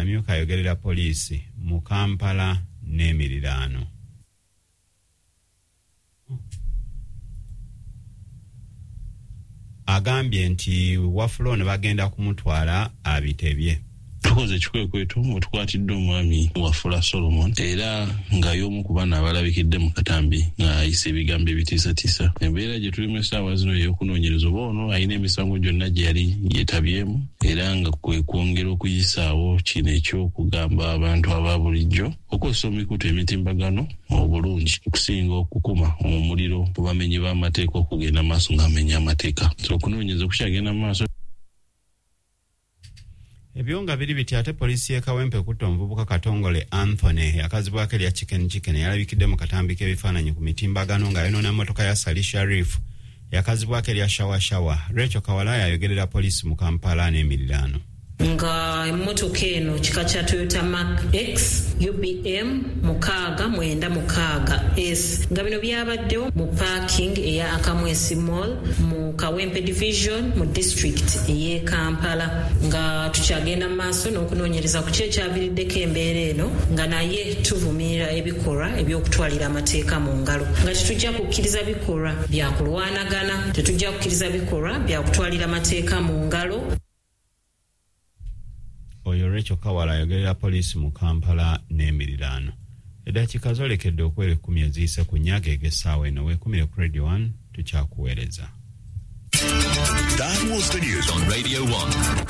Amyuka ayogerera poliisi mu Kampala n'emiriraano. Agambye nti Wafula ono bagenda kumutwala abitebye. Tukoze ekikwekweto mwe tukwatidde omwami Wafula Solomon, era nga y'omu ku bano abalabikidde mu katambi ng'ayisa ebigambo ebitiisatiisa. Embeera gye tulimu essaawa zino ey'okunoonyereza oba ono alina emisango gyonna gye yali yeetabyemu, era nga kwe kwongera okuyisaawo kino eky'okugamba abantu aba bulijjo okukozesa emikutu emitimbagano obulungi okusinga okukuma omuliro ku bamenyi b'amateeka okugenda maaso ng'amenya amateeka. So okunoonyereza kukyagenda mu maaso. Ebyo nga biri biti, ate poliisi y'e Kawempe ekutte omuvubuka Katongole Anthony yakazibwako erya Chicken Chicken, yalabikidde mu katambi k'ebifaananyi ku mitimbagano ng'ayonoona mmotoka ya Sali Sharif yakazibwako erya Shawa Shawa. Rachel Kawalaya ayogerera poliisi mu Kampala n'emiriraano. Nga emmotoka eno kika kya Toyota Mark X UBM 696 S, nga bino byabaddewo mu parking eya Akamwesi Mall mu Kawempe Division mu district ey'e Kampala. Nga tukyagenda mu maaso n'okunoonyereza ku ki ekyaviiriddeko embeera eno, nga naye tuvumirira ebikolwa eby'okutwalira amateeka mu ngalo, nga tetujja kukkiriza bikolwa bya kulwanagana, tetujja kukkiriza bikolwa bya kutwalira amateeka mu ngalo. Oyo Rachel Kawala ayogerera poliisi mu Kampala n'emiriraano. Eddakiika zoolekedde okuwera 10 eziyise ku nnya ag'essaawa eno. Weekumire ku Radio 1, tukyakuweereza. That was the news on Radio 1.